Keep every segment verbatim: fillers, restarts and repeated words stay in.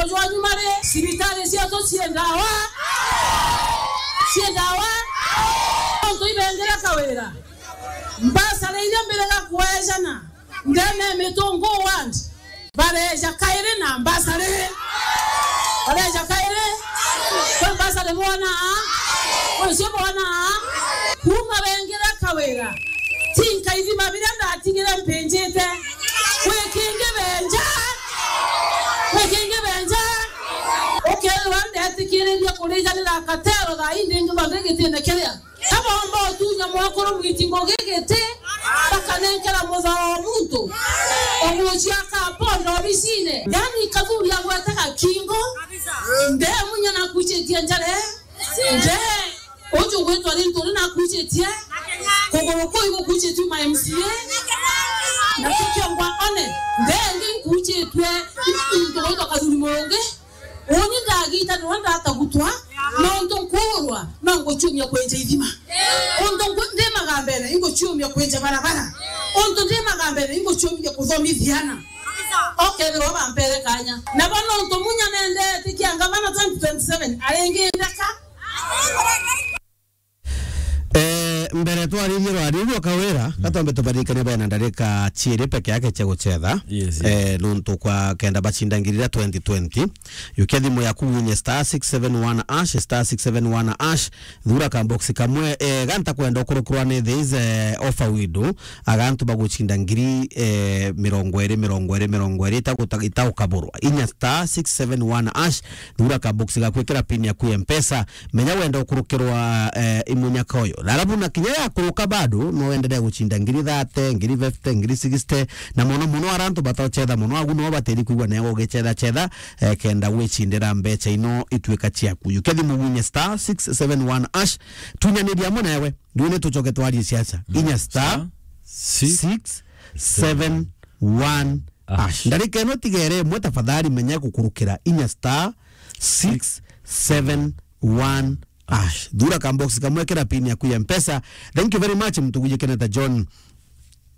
Jwa nyuma ri, cibitari cietu cii ndawa? Cii ndawa? Nontu ibengera kawira. Mbasari iria mbirega kweejana ndene ya Mitungu ward, bareeja kairi na mbasari. Bareeja kairi. Kwi mbasari bwona? Kwi cio bwona? Kuuma bengera kawira, tinka ithima biria ndatigire mpinjite. Kwi kingi benja? Kwi kingi benja? Ukethirwa ndetikiririe kurijanira katero thaa ii ndingi thonde gitine kiria. Kabomba utunya mwakuru mwiti ngugi giti, bakanenkera muthao wa muntu. Omucia akaponda obisine. Yani kathuri agwetaga kingo. Nde munya nakuichitie njare. Nde uju gwitwa rintu ri nakuichitie. Kuguru kuu igukuichitue ma M C A. Na kikio ngwa one. Nde ngi nkuichitue into gwitwa kathuri murungi. Uni ndagita niwe ndatagutwa, nontu nkuurwa, no nguciumia kwenja ithima. Untu nku-, ndi magambene, inguciumia kwenja barabara. Untu ndi magambene, inguciumia kuthomithia ana. Okethirwa bampere kanya. Nabo nontu munya nendete kia ngavana twenty twenty-seven, aringindeka. Eh, mbere twaririe rwaririo kawira, mm, gatwambe tubarikane bena ndarika ciiri peke yake cia gucetha. Yes, yes. Eh, nontu kwa kenda bacinda ngiri iria twenty twenty. Yukia thimu yaku winye star six seven one hash, star six seven one hash, thura ka box kamwe, eh, ganta kwenda ukurukirwa ni this, eh, offer window, agantu bagucinda ngiri, eh, mirongo iri, mirongo iri, mirongo iri, itaguta-, itaukaburwa. Inya star six seven one hash, thura ka box gakwikira pin yaku ya Mpesa, menya wenda ukurukirwa, eh, imunyaka uyu. Na arabu na kinya yakuruka bado, no endelee gucinda ngiri thirty, ngiri fifty, ngiri sixty, na mono mono ara antu batocetha mono, agu no batiri kwigua neo ugicetha cetha, eh, kenda gwicindira mbeca ino ituika ciaku. Yukia thimu winye star six seven one hash, tunyaniria amwe nawe, riu ni tucoke twarie siasa. Mm. Inya star six seven one hash. Ndarika ino tigere imwe tafadhali, menya gukurukira inya star six seven one hash. Thura ka box kamwe, kira pin yaku ya Mpesa. Thank you very much, mtu gwikeneta John.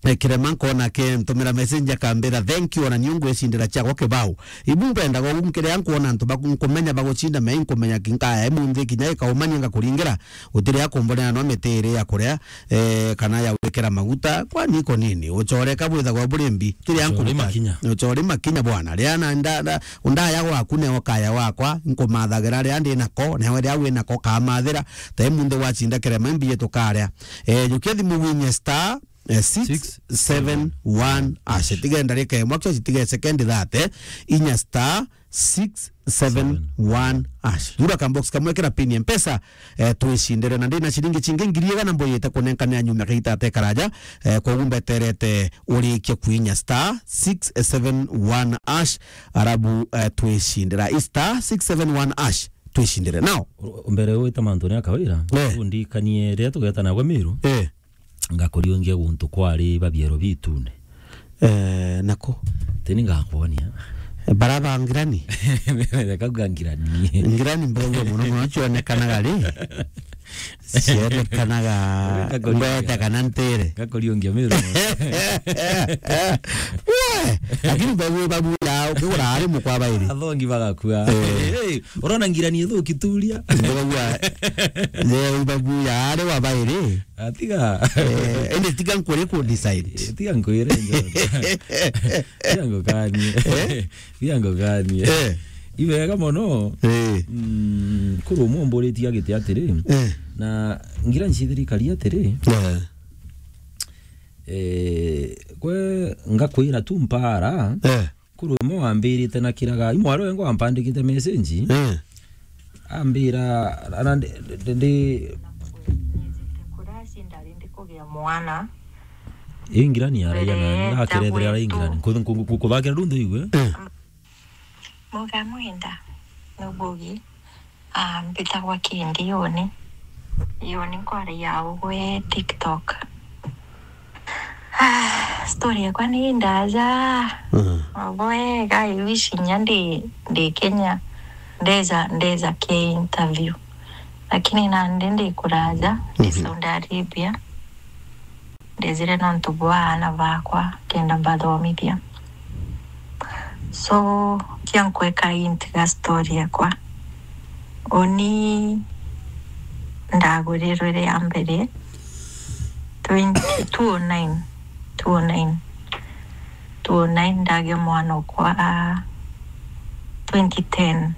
Eh, Kirema nkona ke ntumira message akambira, "Thank you, ona niu ngwicindira ciakwa kibao." Ibu mpendaga ugu nkiria nkwona antu baku-, nkumenya bagucinda, me nkumenya kinkaya imunthi kinya ikaumania ngakuringira, utiri akumbonera no miti iri ya kuria, eh, kana ya gwikira maguta, kwani iko nini? Ucore ka bwithagwa buri mbi, kiri ankuruta. Ucore makinya. Ucore makinya bwana. Ria na nda-, nda-, undaya gwaku neo kaya wakwa, nkumathagira ria ndi nako, nawe ria wi nako kamathira, ta imunthi wacinda Kirema imbi yetu karia. Eh, jukia thimu winye star, eh, six seven one hash. Tige ndarika imwe, actually, tige second thirty, inya star six seven one hash. Thura ka box kamwe, kira pin ya Mpesa, eh, twicindire. Na ndina ciringi cingi ngiri igana mbuyite kunenkanira nyuma kaita ate karaja, eh, koguo mbeterete urikie kuinya star six seven one hash, arabu, eh, twicindira. I star six seven one hash, twicindire. Now, u-, mbere wita mantu ni akawira, eh, undikanie riria tugeta nagwe Miru. Eh. Ngakuriungia guntu kwari babiero bitune. Eh, nako? Tini ngakwonia. Eh, bara ba ngirani? Reka uga ngirani. Ngirani mbogua mono mono cionekanaga ri? Cionekanaga ngwete kana ntire. Ngakuriungia Miru. We, lakini mbegu babu ya ukigura ari mukwa bairi. Athongi bagakua. Eh. Hey, urona ngirani ithuki turia. Mbogua, ye babu ya ari wa bairi. Atiga. Eh, ende tiga nkwire ku decide. Eh, tiga nkwire, John. Tiga ngukanie. Eh? Tiga ngukanie. Eh. Ibega mono. Eh. Mm, kuru umwe umburitie agite atiri. Eh. Na ngira ncithirikari atiri. Eh. Eh, kwe ngakwira tu mpara. Eh. Kuru imwe wambirite na kiraga, imwari wengo wampandikite message. Eh. Ambira, ara ndi, ndi, ndi Kuraci ndari ndikugia mwana. Ingirani araia na, mbere na kerethera ara ingirani. Ku-, ku-, ku-, kuthakira rundu iwe. Eh. Muga mwenda, nubugi. Ah, mbitagwa Kindi Yoni. Yoni nkwaragia ugwe TikTok. Ah, story yakwa ni ndaja. Mm. Ugwe ga iwishi nya ndi, ndi Kenya. Ndeza, ndeza ke interview. Lakini nandi ndi kuraja, ndi, mhm, Saudi Arabia. Ndezire nontu bwa aana bakwa, kenda mbathomithia. So, kia nkweka intiga story yakwa. Uni ndagurirwe ria mbere twenty, two oh nine, two oh nine, two oh nine, ndagia mwana okwa twenty ten.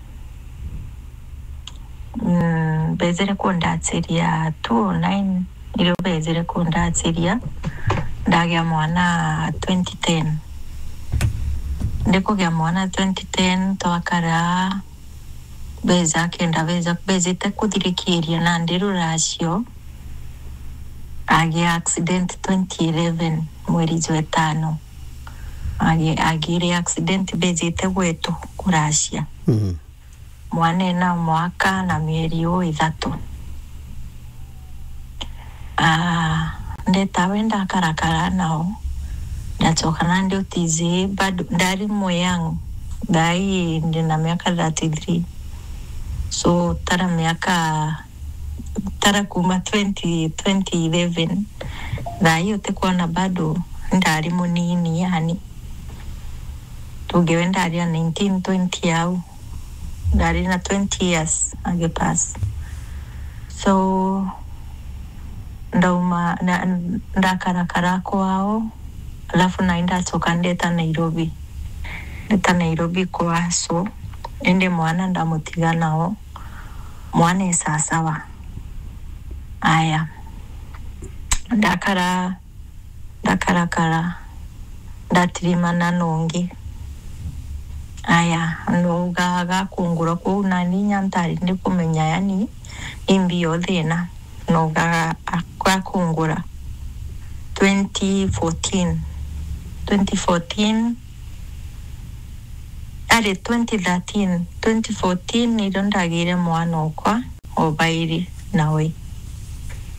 Mm, bezire kundachiria two oh nine, irio bezire kundachiria, ndagia mwana twenty ten. Ndikugia mwana twenty ten, twakara, beza kenda, beza, bezite kuthirikiria nandi ruracio, agia accident twenty eleven, mweri jwa etano. Agi-, agire accident, bezite gwetu kuracia. Mhm. Mwana ena mwaka na mieri uu ithatu. Ah, ndetawe ndakarakara nao, ndachoka nandi utizi bado, ndari mu young, thaai ndina miaka thirty-three. So, tara miaka, tara kuma twenty, twenty eleven, thaai utikwona bado ndari munini yani. Tuge we ndari a nineteen, twenty au. Ndari na twenty years agipass. So, ndauma, na, ndakarakara kwao, alafu nai ndachoka ndeta Nairobi. Ndeta Nairobi kwa so, indi mwana ndamutiga nao. Mwana e sasawa. Aya. Ndakara, ndakarakara, ndatirimana nongi. Aya, ndauga gakungura kuu, nani inya ntari ndikumenya, yani, imbi yo thina. Ndauga gakungura. Twenty fourteen. Twenty fourteen, ari twenty thirteen, twenty fourteen nirio ndagire mwana okwa obairi nawe.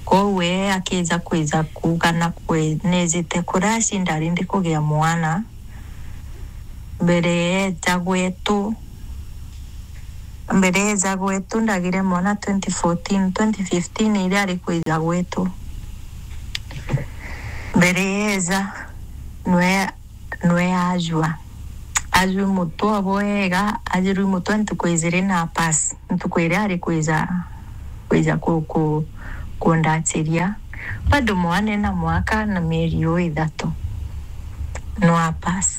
Kwou we akija kwija kuuga na kwe-, nejite kuraci ndari ndikugia mwana. Mbere eja gwetu, mbere eja gwetu ndagire mwana twenty fourteen, twenty fifteen iria ari kwija gwetu. Mbere eja, nwe nwe ajua. Ajui mutwe bwega, ajui mutwe ntuku ijiri na pass. Ntuku iria ari kwija, kwija ku, ku, kundachiria. Bado mwana ena mwaka na mieri uu ithatu. No a pass.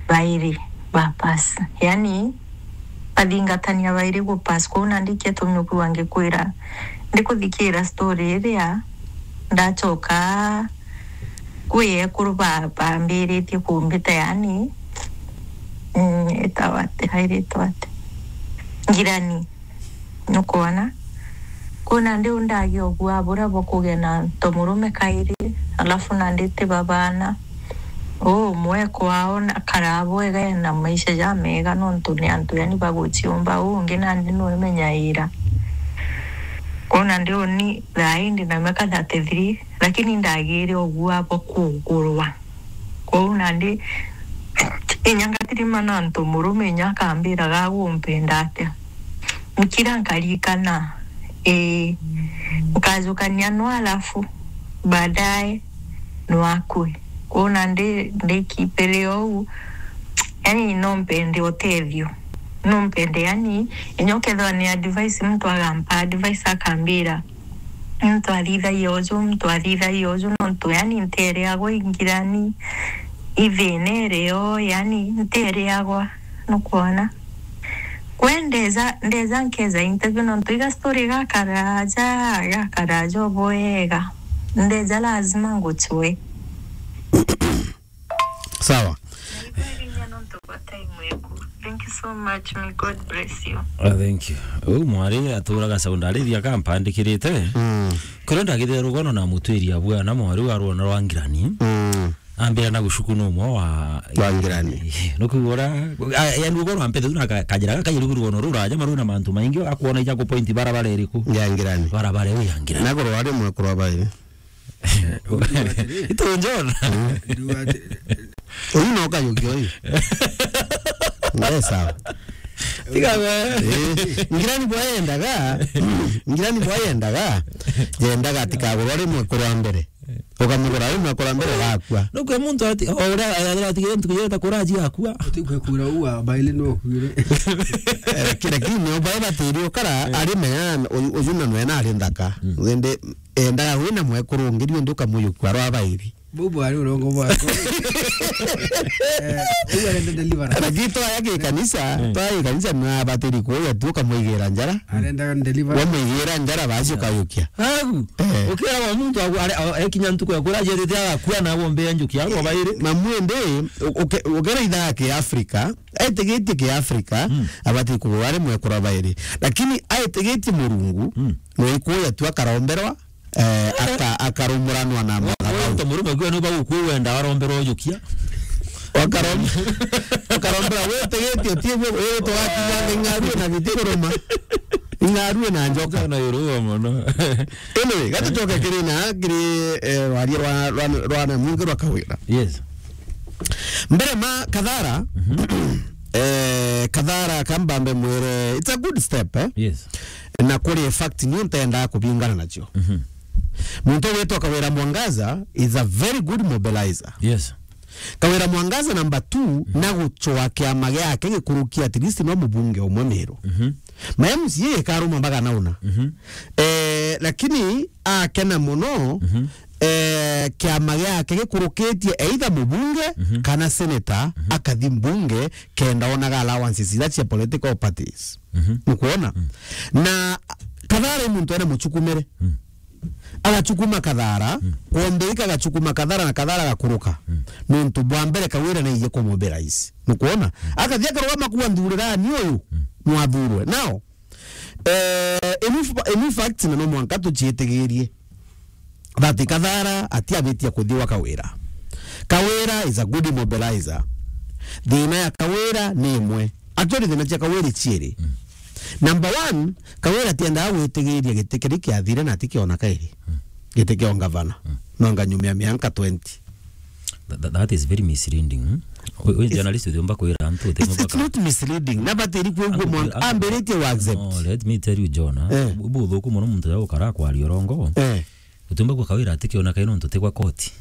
Bairi ba pass. Yani, bathingatania bairi gu pass. Kwou nandi ikio tumi ukuigua ngikwira, ndikuthikira story iria, ndachoka kwi ekuru ba-, bambiritie kumbita, yani, mm, itawa ati, airitwa ati? Ngirani. Nukwona? Kwou nandi undagia ugua buria bwa kugia na ntomurume kairi, alafu nandi ti babana. Uu umwe kwao na karaa bwega ena maisha jamega, nontu ni antu, yani, baguchiumba. Uu ungi nandi nwemenyaira. Kwou nandi uni thaai ndi na miaka thirty-three, lakini ndagire ugua bwa kugurwa. Kwou nandi inya ngatirimana antu murume inya akambira, "Gagu umpenda atia?" Nkira nkarikana, ii, nkajukania no, alafu baadaye no akue. Kwou nandi ndikipire ou, yani, no mpende utethio. No mpende, yani, inya ukethirwa ni advice, muntu agampa advice akambira, "Muntu athithagia uju, muntu athithagia uju," nontu, yani, ntereagwa ingirani, ithina irio, yani, ntereagwa, nukwona? Kwe ndeza, ndeza nkeza interview, nontu iga story gakaraja, gakaraja obwega. Ndeza lazima nguchwe. Sawa. Naibairinya nontu bwa time eku. Thank you so much. May God bless you. Ah, thank you. Uu mwari aturaga Saudi Arabia kampandikirite. Mm. Kuria ndagithire rugono na mutwiri abwana mwari wa rwona rwa Ngirani. Mm. Ambira na gucuku no umwe wa Wa Ngirani. Nukuigua ura, a, yani rugono ampete tu na ka-, kajira gaka rugono ruraja maruna mantu maingi, akwona ija ku point barabara iriku? Ya Ngirani. Barabara iyo ya Ngirani. Na kurwa ari mwe kurwa bairi. Itu njona. Uyu no kayuki uyu. Nde sawa. Tiga we. Eh, Ngirani bwa yendaga, Ngirani bwa yendaga, yendaga atikagurwa rimwe kurwa mbere. Ukamugura, uyu nakura mbere gakua. Nukwe muntu ati, o uria athira atigire ntuku jeta kuraji akua. Utikwe kura uwa, baile no kuire. Eh, kira kini, o bae batiri ukara, eh, ari mea, u-, uyu na nwena ari nthaka. Mm. Wende, endaga wina mwekuru ungi, riu ndi ukamuyukua rwa bairi. Bubu ari urongo bwako. Eh, uyu arenda deliverance. Lakini twaya ki kanisa, mm, twaya ki kanisa, na batiri kuya tu ukamwigira njara. Arenda deliverance. Wamwigira njara, basi ukayukia. Agu. Eh. Ukira wa muntu agu, are, a-, ekinya ntuku ya kuraji etete agakua na wombe njuki, agu bairi. Na mwende, u-, uke-, ukera ithaa ki Afrika, aitigitie ki Afrika, mm, abati kugura ari mwekuru bairi. Lakini aitigitie Murungu, mm, no ikuya tu akaromberwa, eh, aka-, akarumuranwa na mathabau. Wewe murume gwe no bagukwenda aromberwa ujukia. Wakarom-, wakarombera wetegetie tie gwe, wewe twakinya ng'arue na biti kuruma. Ng'arue na njoka. Na yorua mono. Anyway, gatucoke kiri na, kiri, eh, rwaria rwa, rwa, rwa na mwingi rwa Kawira. Yes. Mbere ma Kathara, mhm, eh, Kathara kambambe mwire, it's a good step, eh? Yes. Na kuri fact ni ntenda kubingana nacio. Mhm. Muntu witwa Kawira Mwangaza is a very good mobilizer. Yes. Kawira Mwangaza number two, mhm, na gucwa kiama giake gikuruki at least no mubunge umwe Meru. Mhm. Ma M C A ikaruma mpaka nauna. Mhm. Eh, lakini akena muno, mhm, eh, kiama giake gikurukitie either mubunge, mhm, kana senator, mhm, akathi mbunge kenda onaga allowances ira cia political parties. Mhm. Nukwona? Mm. Na Kathara i muntu ena muchukumire. Mm. Agachukuma Kathara, mm, kwombe ika agachukuma Kathara na Kathara agakuruka. Mm. Nontu bwa mbere Kawira naije kumobilize. Nukwona? Mm. Akathi akarugama kuwa nthurira ni uyu, mm, mwathurwe. Now, eh, in f-, in fact, na no mwanka tuciitigirie that Kathara atiabitie kuthi gwa Kawira. Kawira is a good mobilizer. Thina ya Kawira ni imwe. Actually, thina cia Kawira i ciiri. Mm. Number one, Kawira atiendaga gwitigiria giti kiri kiathire na atikiona kairi. Mm. Giti kia ungavana. Mm. No nganyumia mianka twenty. That, that, that is very misleading, hmm? We, we journalist utiumba kwira antu, utiumba. It's, it's not misleading. Na batiri kwigua mwanka ambiritie wa accept. No, let me tell you, John, ah. Eh. Bu-, buthuku muno muntu ya ukara kwaria urongo. Eh. Utiumba gwa Kawira atikiona kairi nontu tigwa koti.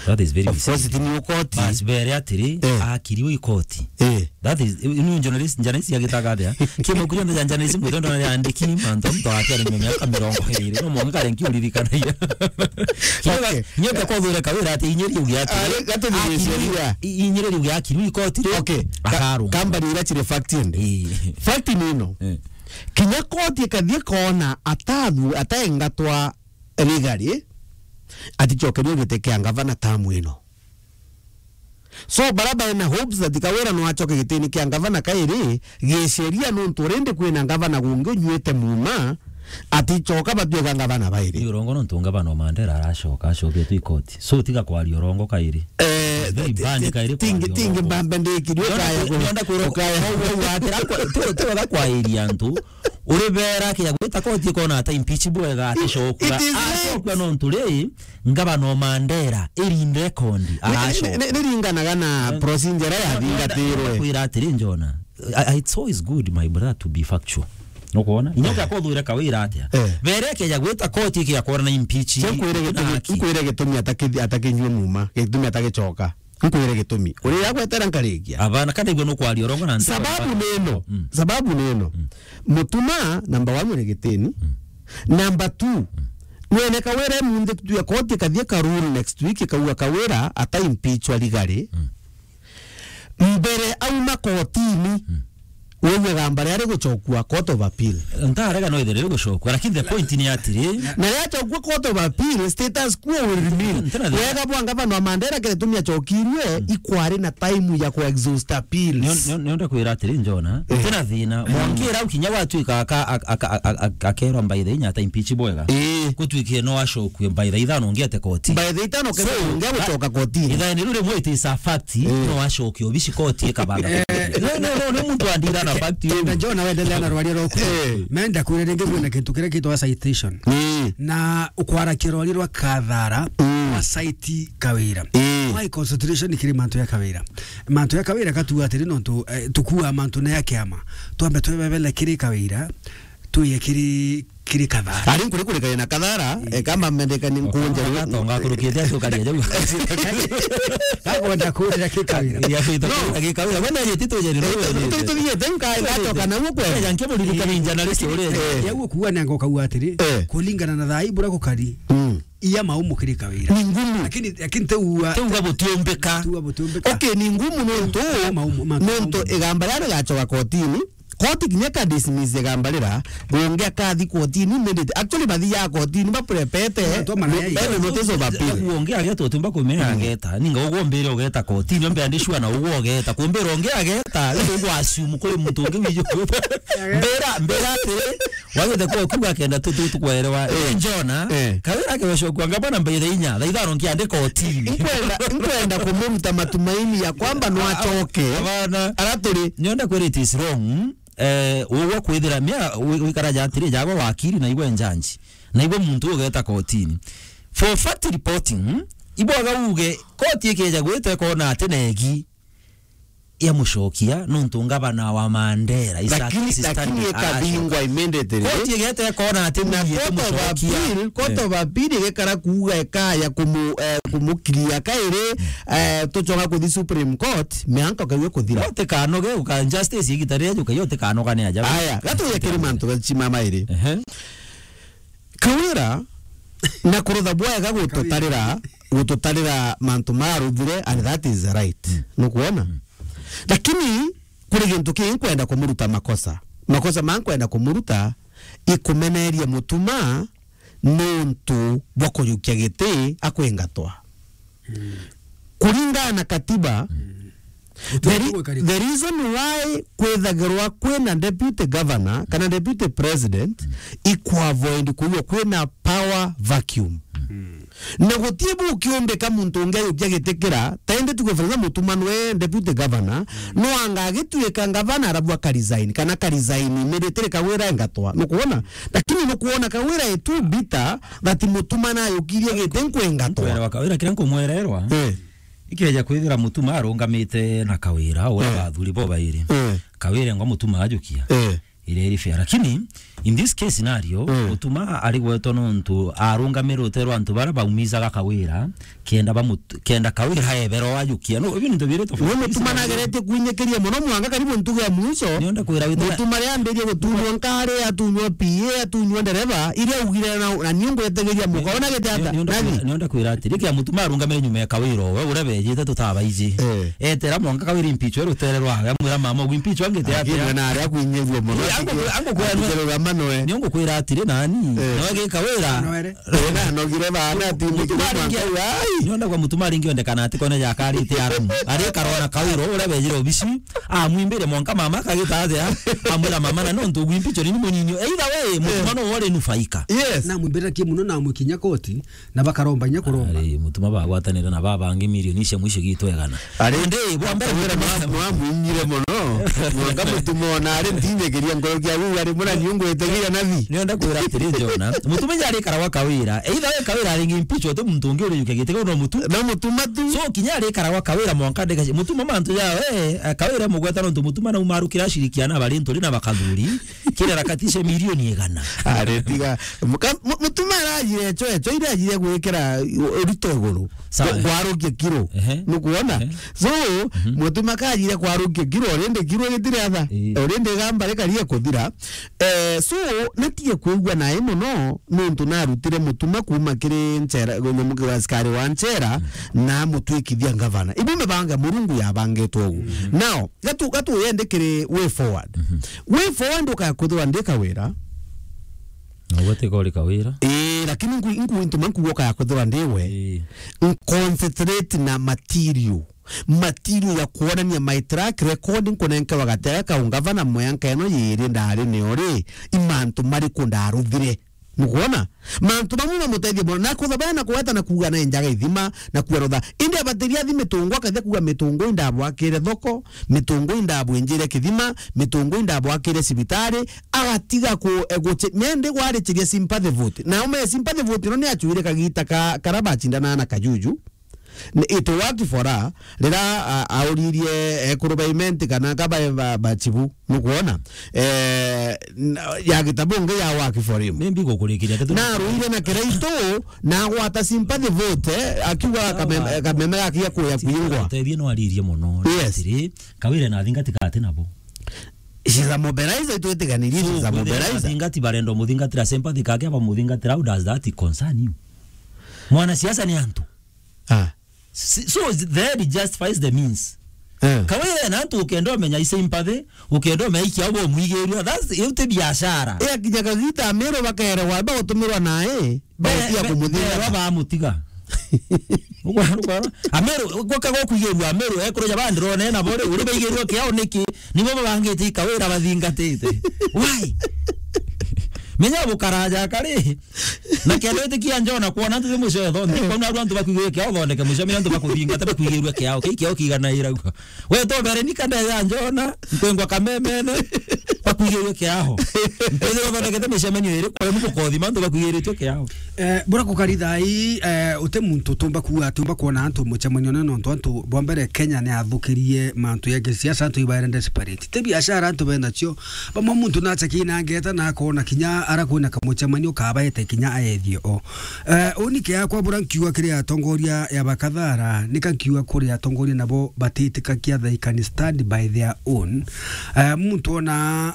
That is very misleading. Of course, ti ni ukoti. Bas, bere atiri, eh, akiriwe i koti. Eh. That is, you know, journalist, journalist agitaga atia? Kiama kuria nda journalist, mutendo ya andiki, mantu mtu atia ni miaka mirongo iri. No mwanka renki uririkanagia. Okay. Nyoka kwa thura Kawira ati inyeri ugia ati. Ah, gato ni sheria. I-, inyeri ugia ati, ikoti ri. Okay. Ka-, akarungwa. Kambani ira chire fact ende. Ii. Fact ni ino. Eh. Kinya koti ikathie kona atathu, ataengatwa legally, aticokerio giti kia ngavana tamu ino. So, bara baina hopes that Kawira no acoke gitini kia ngavana kairi, gisheria nontu rindi kwina ngavana gungi unyuite muma, aticoka batuika ngavana bairi. Ni urongo nontu ngavana o Mandela aracoka, acoketwe i koti. So, tiga kwaria urongo kairi. Eh, very bad kairi kwaria urongo. Tingi, tingi mbambe ndikiri ukaya ku-, nonda kwira ukaya. Au, au, atira kwa, tu, tu, kwairia antu. Uri bera kia gwita koti ikona ata impeach bwega aticokua. It is late. Acokua nontu ri, ngavana o Mandela, irinda rekondi, ni, aracoka. Ni, ni, niringanaga na, eh, procedure ya, no, no, thingatirwe. Kwira atiri, Njona, I, I, it's always good, my brother, to be factual. Nukwona? Inya kia kothuire Kawira atia? Eh. Bere kia gwita koti kia kwona na impeach. Nkwire gitumi, nkwire gitumi ataki-, atakinyue muma, gitumi atagicoka. Nkwire gitumi. Uri ya gwetera nkarikia. Abana, kana igwe nukwaria urongo na ntu. Sababu neno. Mm. Sababu neno. Mm. Mutuma, number one, uri gitini. Mm. Number two, mm, wene Kawira munthi tutue koti kathie ka rule next week, kauga Kawira ata impeachwa legally. Mm. Mbere auma kotini, mm, wewe gamba riari gucokua Court of Appeal. Ntarega no ithire rigucokua, lakini the point ni atiri. Na riacokua Court of Appeal, status quo will remain. Wega bwa ngavana wa Mandela kiri tumi acokirwe, mm, ikwari na time ya ku exhaust appeals. Nio, nio, nionde kwira atiri, Njona, eh, tena thina, mm, mwangira ukinya gwatuika aka-, aka-, aka-, aka-, akerwa by the inya ata impeach bwega. Eh. Gutwikire no acokue by the ithano ngiete koti. By the ithano kenda, so, ngia gucoka koti. Ithaene riu rimwe it is a fact, eh, no acoke obici koti ikabanga. Eh. No, no, no, ni muntu andira na fact. Tenda Njona wendelea na rwaria rwaku. Eh. Menda kwira ringi kwina kintu kiria kitwa citation. Mm. Na ukwarakia rwaria rwa Kathara, mm, wa cite Kawira. Mm. Why consideration kiri mantu ya Kawira? Mantu ya Kawira katuga atiri nontu, eh, tukua mantu na ya kiama. Twambe twebebele kiri Kawira, tuye kiri kiri Kathara. Ari nkuri kurikania na Kathara, eh, kama mendeka ni nkunja. Tonga kurukite acio karia jau. Kagonda kurira kikawira. Ya fita kurira kikawira. Wena yeti tu jeri. Tu tu yeti nka ngatoka na uko. Ya nke muri kukarinja na risi uri. Eh. Ya uko kuwa na ngoka uatiri. Eh. Kulingana na thai bura kukari. Mm. Iya mau mukiri kawira. Ni ngumu. Lakini, lakini te uwa. Te uwa butiumbika. Te uwa butiumbika. Okay, ni ngumu nontu. Mau, mau, nontu igamba ria rigacoka kotini. Koti kinya ka dismiss igamba rira, gungi akathi kotini immediate. Actually, bathi ya kotini baprepete. Ene notice of appeal. Gungi ageta utumba kumira ageta. Ninga ugwo mbire ugeta kotini, ombe andi sure na ugwo ugeta. Kumbira ungi ageta, riu ugwa assume kuri muntu ungi wiju. Mbira, mbira atiri, wagete kwa kuga kenda tu, tu, tukwerewa. Eh. Njona, eh, kawira ke gocokua ngabana mbaire inya, thaa ithano nkiandika kotini. Nkwenda, nkwenda kumuruta matumaini ya kwamba no acoke. Abana. Ara turi. Nionda kwira it is wrong. Eh, ugwo kwithira mia, wi-, wikara ja atiri, jagwa wakiri, na igwe njanji. Na igwe muntu ugeta kotini. For fact reporting, ibwaga uge, koti ikeja gwita ikona ati negi ya mucokia, nontu ngavana wa Mandera, Isaac Lakini, Sisitani lakini aracoka. Ikabingwa immediately. Koti igeta ikona ati na mwiye court of kumucokia. Appeal, court of appeal igekara kuuga ikaya kumu-, eh, kumukiria kairi, eh, tucoka kuthi Supreme Court, mianka ukaiwe kuthira. Yote kanoge, uka justice igita ria juka, yote kanoga ni ajabu. Aya, gatuye kiri mantu gachima mairi. Ehe. Kawira, na kurutha bwega gututarira, gututarira mantu maruthire, and that is right. Mm. Nukuona? Mm. Lakini, kuri gintu kingi nkwenda kumuruta makosa. Makosa ma nkwenda kumuruta, ikumeneria Mutuma nontu bwa kujukia giti akwingatwa. Mm. Kuringana na katiba, mm, the re-, the reason why kwithagirwa kwina deputy governor kana deputy president ikuavoid kuigua kwina power vacuum. Mm. Na gutii bukiumbika muntu ungi ajukia giti kira, ta indi tuge for example Mutuma nwe deputy governor, no anga agituika ngavana arabu akaresign, kana akaresign immediately Kawira engatwa. Nukuona? Lakini nukuona Kawira e too bitter that Mutuma najukirie giti nkwengatwa. Nkwenda wa Kawira kiria nkumwererwa. Eh. Ikeja kwithira Mutuma arungamite na Kawira, uria, eh, bathuri bo bairi. Eh. Kawira engwa Mutuma ajukia. Eh. Iria iri fair. Lakini, in this case scenario, mm, Mutuma ari gwetwa nontu arungamire rute rwa antu baria baumizaga Kawira, kenda bamut-, kenda Kawira ebero ajukia. No, ibi ni ntu biri tofauti. Ni Mutuma nageretie kwinyikiria mono mwanka karibu ntuge ya mwisho. Nionda kwira witira Mutuma ria ambirie gutunywa nkari, atunywa P A, atunywa ndereva, iria augire na, na niu ngwetegeria muka. Ona gete ata? Nionda kwira, nionda kwira atiri, kia Mutuma arungamire nyuma ya Kawira, we uria bejite tutabaiji. Eh. Etera mwanka Kawira impeach, we rutere rwawe, amwira mama, ugwimpeach wangite atia? Lakini na aria kwinyirua mono. Eh, angu, angu kwira, atigirura manoe. Niongo kwira atiri nani? Eh. Nawe gi Kawira. Noere. Ena nogire bana ati Mutuma aringi, ai. Nionda kwa Mutuma aringi ondekana ati kone jakarite aramu. Ari karona Kawira uria bejire obisi. Amwimbire mwanka mama akagita atia. Amwira mama na nontu gwimpicho ni munini. Either way, Mutuma no wore nufaika. Yes. Na mwimbira ki muno na mwikinya koti na bakaromba inya kuromba. Ari Mutuma bagwatanire na babangi milioni cia mwisho gitwegana. Ari, ndi, bwa mbere Kawira Mutuma mwa-, mwamwinyire mono. Mwanga Mutuma ona ari ntinyegeria ngoro kia wiu ari mura nyungu etegia nathi. Nionda kwira atiri, Jona. Mutuma inya ari karagwa Kawira. Either we Kawira ari ngi mpicho tu muntu ungi uri yuke gitego no Mutu-, no Mutuma tu. So kinya ari karagwa Kawira mwanka ndeka Mutuma mantu ya we, eh, Kawira mugweta nontu Mutuma na umarukira ashirikiana bari nturi na bakathuri. Kira rakatishe milioni igana. Ari tiga. Muka-, mu-, Mutuma arajire cho, cho ira ajire gwikira u-, urito iguru. Sawa. Gwa-, gwarukia kiro. Ehe. Nukuona? Ehe. So, mhm, Mutuma kajire kwarukia kiro, rindi kiro gitire atha. Ii. Rindi gamba rikaria kuthira. Eh, so, natige kwigua nae mono, nontu narutire Mutuma kuma kiri nchera, nyamu kiri askari wa nchera, mm, na mutwikithia ngavana. Ibu mibanga Murungu yabangitwe ugu. Mm. Now, gatu, gatu yende kiri way forward. Mhm. Way forward ukaya kwithirwa ndi Kawira. Na ugatika uri Kawira. Ii, lakini nku-, nku-, ntuma nkuga ukaya kwithirwa ndi we. Ii. Nconcentrate na material. Material ya kuonania my track record nkunenkewa gatega kau ngavana mweanka ino yiri ndari nio ri, i mantu mariku ndaruthire. Nukwona? Mantu bamwe mamutethia mono. Na kuthabaya na kuweta na kuuga na enjaga ithima na kuerotha. Indi abatiria athi mitungu akathia kuuga mitungu indabwakire thoko, mitungu indabwinjire kithima, mitungu indabwakire cibitari, agatiga ku-, e, guche-, mendi gwarichiria sympathy vote. Na ume sympathy vote ino ni achuire kagita ka, kara bachindana na Kajuju. N-, it worked for her. Rira, a-, auririe ekuru ba Imenti kana ka ba, ba, ba Chibu, nukwona? Eh, n-, ya Gitabungi ya work for him. Maybe gukurikiria, tetu- Na aruire na Kiraitu, na agwata sympathy vote, eh, akiuga kameme, kameme gaki gakuya kwingwa. Utethie no aririe mono. Yes. Atiri, Kawira na athingatika ati nabo. She's a mobilizer, itwitiganirie, so, she's a mobilizer. Athingati barenda umuthingatira sympathy kake, abamuthingatira, how does that concern you? Mwanasiasa ni antu. Ah. Si-, so the end justifies the means. Eh. Kawira na antu ukenda umenya i sympathy, ukenda umenya ikiao bo mwigirua. That's, iu ti biashara. Eh, akinya kagita Amiru bakerewa, bagutumirwa nae, bagutia kumuthinga. Berwa bamutiga. Ukwona, ukwona? Amiru, gwoka gwa kwigirua Amiru, ekuru ja bandi rone nabo ri, uri baigirua kiao niki? Nibo babangite i Kawira bathingatite. Why? Menya bukaraja kari. Na kenda witikia Njona kwona antu ti mucio etho, nthi kwona aru antu bakwigirua kiao uthondeke mucio, menya antu bakuthingata bakwigirua kiao. Kii kiao kigana irauga. We to mbere ni kanda ya Njona, nkwengwa kamemene, bakwigirua kiao. Nkwithirwa uthondekete micemanio iri, kwa mukothi, mantu bakwigirua kiao. Eh, bura kukari thai, eh, uti muntu tumba kuuga, tumba kwona antu mucemanio na nontu antu bwa mbere Kenya ni athukirie mantu ya kisiasa, antu ibaere desperate. Ti biashara antu benacio, bamwe muntu nacha kina ngeta na akona kinya ara kwina kamucemanio kabaete kinya aethie o. Eh, uni kia kwa bura nkiuga kiri atongoria ya bakathara, nika nkiuga kuri atongoria nabo batitikakia they can stand by their own. Eh, muntu ona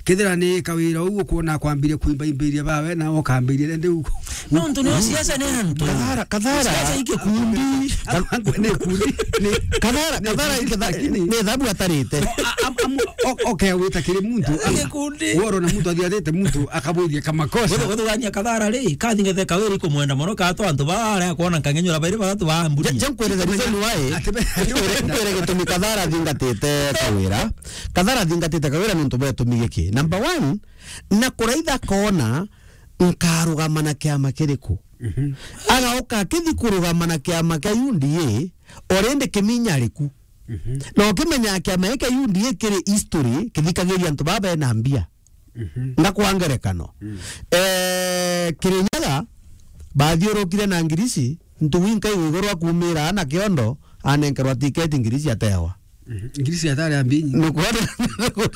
kethira ni Kawira uu ukwona akwambiria kuimba imbiria bawe, na ukambiria rende uko. Nontu ni siasa ni antu. Kathara, kathara. Siasa i gikundi. Ni kundi, ni Kathara, ni kathara kundi, iketha-, lakini ni thabu atarite. A-, am-, am-, o-, okay, wita kiri muntu. Ni gikundi. Woro na muntu athiatite muntu akabwithia kamakosa. Guthu-, guthugania kathara ri, kathingete Kawira ikumwenda mono, kato antu baria kwona nkangenyura bairi bathatu baamburi. Je, je nkwire the reason why. Ati be-, nkwire, nkwire gitumi kathara athingatite Kawira. Kathara athingatite Kawira nontu bwa gitumi giki. Number one, na kuraitha kona nkarugama na kiama kiriku. Mhm. Agauka akithi kurugama na kiama kia U D A, already Kiminya ari ku. Mhm. Na ukimenya kiama giki kia U D A kiri history, kithikagiria antu baba bena mbia. Mhm. Na kwa ngerekano, mm, eh, Kirinyaga bathiurukire na Ngirisi, Ntugu inkaigwa iguru akuumira ana Kiondo, anenkerwa tiketi Ngirisi atewa. Mhm. Ngirisi atari ambinyi. Nukwona,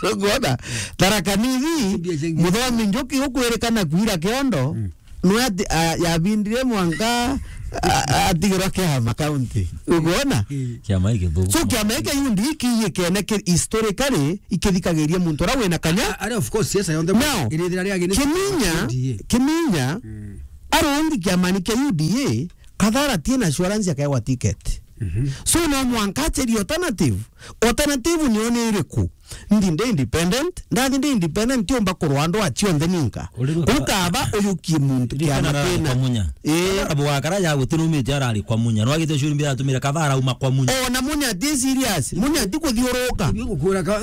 nukwona. Tharaka Nithi, mbia cia Ngirisi. Muthomi Njuki ukwirikana kwira Kiondo, mm, nwe ati-, a-, yabindire mwanka, a-, a-, atigirwa kiama county. Ukwona? Mm. Kiama giki githuku. So, kiama giki U D A kiiyikene ki-, historically, ikithikagiria muntu uria wina kanya. A-, ari of course, siasa yonthe. Now, irithira riagini Kiminya, U D A. Kiminya, mm, arungi kiamani kia U D A, Kathara tina assurance akaewa ticket. Mhm. So no mwanka acherie alternative. Alternative niyo ni iriku? Ndi ndi independent, ndathi ndi independent, tiumba kurwa andu a cionthe ninka. Uri ru- Ukaba uyukie muntu kiama kina. Kwa Munya. Ii. Kathara bugakara ya gutirumite arari kwa Munya. No agite curi mbira atumire Kathara uma kwa Munya. O na Munya ti serious. Munya ti kuthiuruka. Ni gukwira ka-,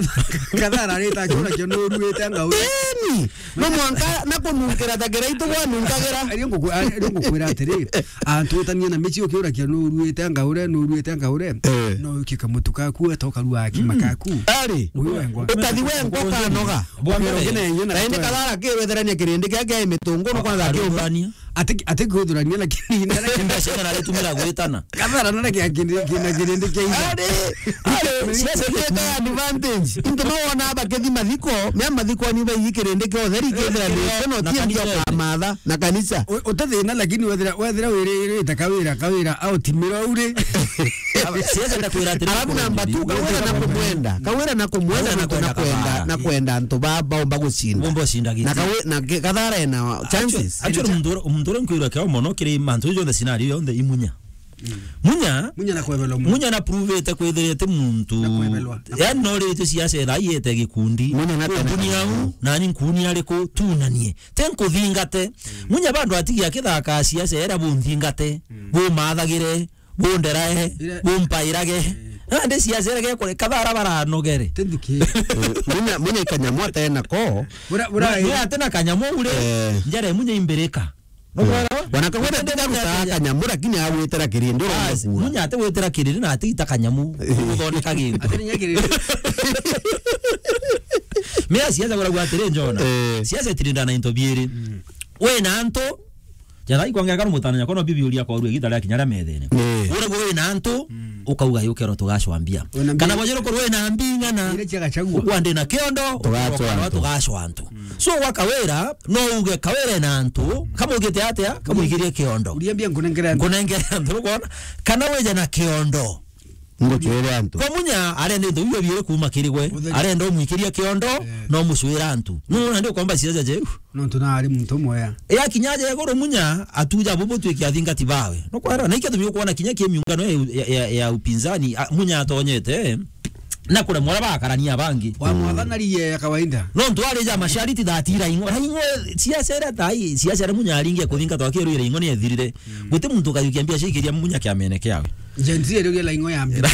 Kathara arita akiona kio nuruite ngau. Eni. No mwanka na kununkira ta Kiraitu gwanunkagira. Ari nguku-, ari ngukwira atiri, antu utanie na mici ukiurakia nuruite ngaure, nuruite ngaure. Eh. No ukie kamutu kaku, eta ukarua akima kaku. Ari. Uyu wengwa. Ukathi wengwa ukanoga. Bwa mbere. Ukina yenye na. Na indi Kathara kiwetherania kirindi kia kia imitungu no kwanza akiumba. Arugurania. Ati, ati kuthurania lakini. Mbeca na aritumira gwitana. Kathara na kia kindi, kina kirindi kia ira. Ari, ari, siasa ika advantage. Into mawona bakithi mathiko, mea mathiko ni baigi kirindi kia utheri kethira ni kono na tie ndio kanisa. Kamatha na kanisa. U-, utathina lakini wethira, wethira wiri, wiri ta Kawira, Kawira au timira uri. Siasa ndakwira atiri. Alafu namba two, Kawira na kumwenda. Kawira na kumwenda, Kawira na na kwenda kwenda, Kathara. Na kwenda antu ba, baumba gucinda. Baumba gucinda giti. Na Kawi-, na ke-, Kathara ena chances. Actually, actually, muntu ura, muntu ura nkwirwa kiao mono kiri mantu jonthe scenario yonthe i Munya. Mm. Munya, Munya na kwebelwa Munya. Munya na prove ete kwithirite muntu. Na kwebelwa. Yani no ritwe siasa ira iete gikundi. Munya na tena. Kumbuni au, nani nkuni ariku tunanie. Te nkuthingate. Mm. Munya bandu atigia kithaka siasa era bunthingate, mm, bumathagire, bunderae, ira- bumpairage. Eh. Nandi siasa ira gekore Kathara baranogere. Tindiki. Eh, Munya, Munya ikanyamu atena ko. Bura, bura. Munya atena kanyamu ure. Eh. Njere Munya imbirika. Eh. Wana Kawira tiga gutaa kanyamu, lakini agwitira kirindi. Bas, uramukua. Munya ati gwitira kirindi na ati ita kanyamu. Eh. Guthondeka gintu. Ati ni kirindi. Mea siasa gura gwatire Njona. Eh. Siasa itirindana into biiri. Mm. We na antu Jathai kwangeka no mutana nyako no bibi uria korwe gita ria kinya ria methene. Eh. Ura gwe na antu, mm, ukauga yukero tugacwambia. Wina mbi-, kana wajero korwe na mbingana. Ile cia Gachagua. Ugwa ndi na kiondo, tugacwa antu. Tugacwa antu. Mm. So wa Kawira, no uge Kawira na antu, kamugite atia, kamuigirie kiondo. Uria mbia nkunengere antu. Nkunengere antu, ukwona? Kana weje na kiondo. Ngucwire antu. Kwa Munya arenda into biu biiri kuuma kiri gwe. Utheri. Arenda umwikiria kiondo, eh, no mucwira antu. Nuna ndi ukomba ciaca jeu. Nontu na ari muntu mwea. Ya kinya aja iguru Munya atuja bubu twiki athingati bawe. No kwera, na ikio tumi ukwona kinya ki miungano ya, ya, ya, ya upinzani, a, Munya atonyete, eh, na kuremwa aria bakarania bangi. Wa mwathana ri ya kawaida. Nontu ari ja mashariti that ira ingo. Ra ingo, siasa ira tai, siasa ira Munya aringe kuthingatwa akiru ira ingo ni ethirire. Mm. Guti muntu ukayukia mbia cikiria Munya kiamene kiawe. Gen Z iriugia laingo ya mbere.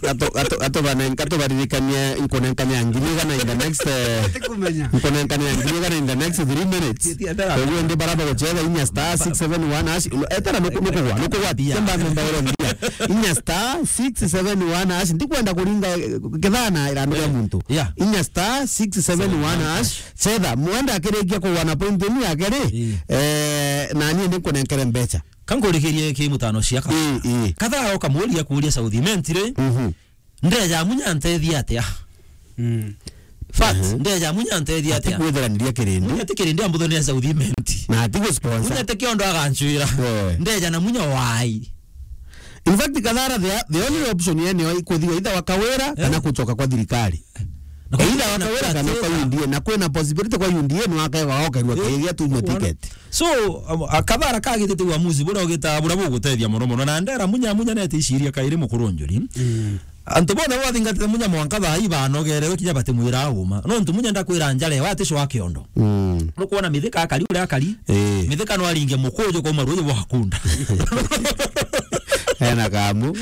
Gato, gato, gato bane-, gato baririkanie nkunenkania ngiri igana in the next, eh, tikumenya. Nkunenkania ngiri igana in the next three minutes. Ti, ti, etera. Koguo ndi bara bagucetha inya star six seven one hash. Etera nuku-, nukugwa, nukugwa. Bia. Kemba nenda oro mbia. Inya star six seven one hash. Ndikwenda kuringa, eh, kethana irandu ria, eh, muntu. Yeah. Inya star six seven one hash. Cetha, mwenda akirikia kugwa na point inu yake ri, eh, na nie ndikunenkere mbeca. Kankurikirie ki mutano ciaka. Ii, ii. Kathara ukamuria kuria South Imenti ri. Mhm. Ndeja Munya ntethia atia? Mm. Fact, mhm, ndeja Munya ntethia atia? Atikwithiraniria kirindi. Munya ti kirindi ambutho ni South Imenti. Na atigu sponsor. Munya ti kiondo agancwira. Eh. Ndeja na Munya wai. In fact, Kathara, the, the only option yene yo ikuthigwa either wa Kawira, eh, kana kuchoka kwa thirikari. Na either wa Kawira kana kwa U D A, na kwina possibility kwa U D A no akae waokerwa, eh, kiria tunywe ticket. So, um, a, Kathara kagitite uamuzi buria ugita buria bugutethia mono mono. Na ndera Munya, Munya nete iciria kairi mukuru njuri. Mm. Antu bonthe bathingatite Munya mwanka thaa ii banogererwe kinya batimwira uma. Nontu Munya ndakwira njara ewe aticwa kiondo. Mm. Nukwona Mithika akari uria akari. Eh. Mithika no aringe mukuju kuma ruuji bwa kunda. Ena kamu.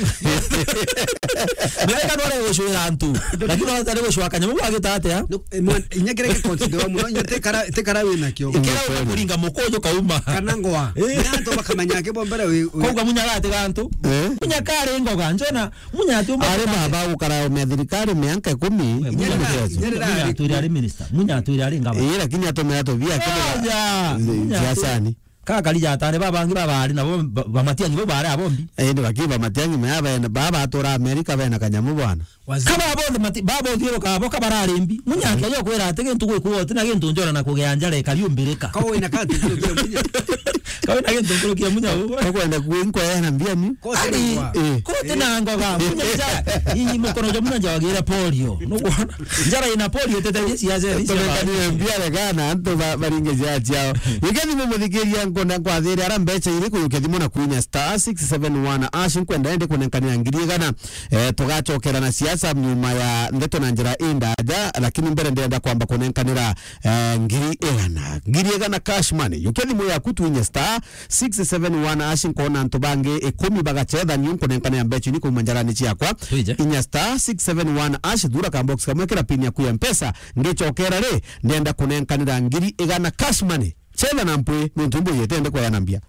Mithika no aregucwira antu. Lakini no atari gucwa kanyamu gagita atia? No, eh, mwan-, inya kiria giconsiderwa muno, inya tikara, tikara wina kio. Ikira ukakuringa mukuju kauma. Kana ngoa. Eh. Inya antu bakamenya ake bo mbere wi, wi- Kauga Munya gatiga antu. Eh. Munya kari ngoga, njona, Munya ati umwe. Ari baba gukara ume thirikari mianka ikumi. We, Munya Munya ati-, Munya ati-, Munya atwire ari minister. Munya atwire ari ngavana. Ii, lakini atumira tubia kiri. Aja. Munya ati-, siasani. Kakari jatane babangi babari nabo ba-, ba Matiang'i bo bari abombi. Indi bakiba Matiang'i maya bena, baba atura Amerika bena kanyamu bwana. Waziri. Kaba bonthe mati-, baba uthiuruka abo kabararimbi. Munya akeja kwira ati gintu gwikwo uti na gintu njora na kugea njara ikari umbirika. Ko wina kantu kurukia Munya. Ka wina gintu kurukia Munya ugo. Ko kwenda kuinko yana mbia ni. Ko ari, sina ngwa. Eh. Ko uti na ngoga. Munya ja, ii mukono ja Munya ja wagira polio. Nukwona? Njara ina polio tete cia cia. Tumekanire mbia regana antu ba-, baringe cia ciao. Wikendi mumuthikiria nkona kwathire ara mbeca iri kuyukia thimu na kwinya star six seven one hash nkwenda ende kunenkanira ngiri igana. Eh, tugacokera na siasa nyuma ya ndeto na njira indaja, lakini mbere ndenda kwamba kunenkanira, eh, ngiri igana. Ngiri igana cash money. Yukia thimu yaku twinye star six seven one hash nkona antu bangi ikumi bagacetha niu nkunenkanira mbeca ini kuma njarani ciakwa. Twije. Inya star six seven one hash thura ka box kamwe kira pin yaku ya Mpesa. Ngicokera ri, ndenda kunenkanira ngiri igana cash money. Cetha na mpwi, nontu mbuyite ndi kwaya na mbia.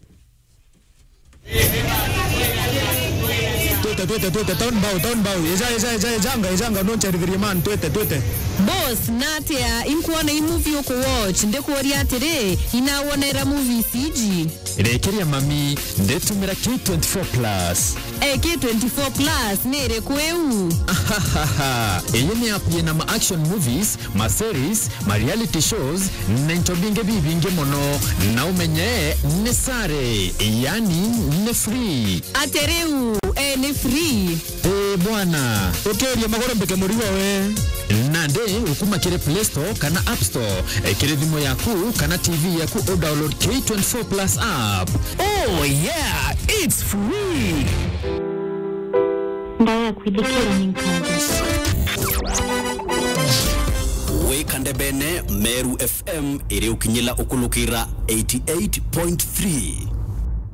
Twite, twite, twite, town bow, town bow. Eja, eja, eja, ejanga, ejanga, noncherithirie man, twite, twite. Boss, natia, inkuona i movie uku watch, ndikuuria atiri, inawonera movies iji? Rekeria mami, ndetumira K twenty-four plus. Eh, K twenty-four plus ni iriku iu? Ahahaha. Iyi ni app yina ma action movies, ma series, ma reality shows, na into bingi bibingi mono. Na umenye ni sare, yani ni free. Ati riu, eh, ni free? Eh, bwana. Ukiria magoro mbike murigo we. Nandi ukuma kiri Play Store kana App Store, eh, kiri thimu yaku kana T V yaku, u download K twenty-four plus app. Oh yeah, it's free. Ndaya kwithikira ni nkatho. Wika ndebene, Meru F M iri ukinyila ukulukira eighty-eight point three.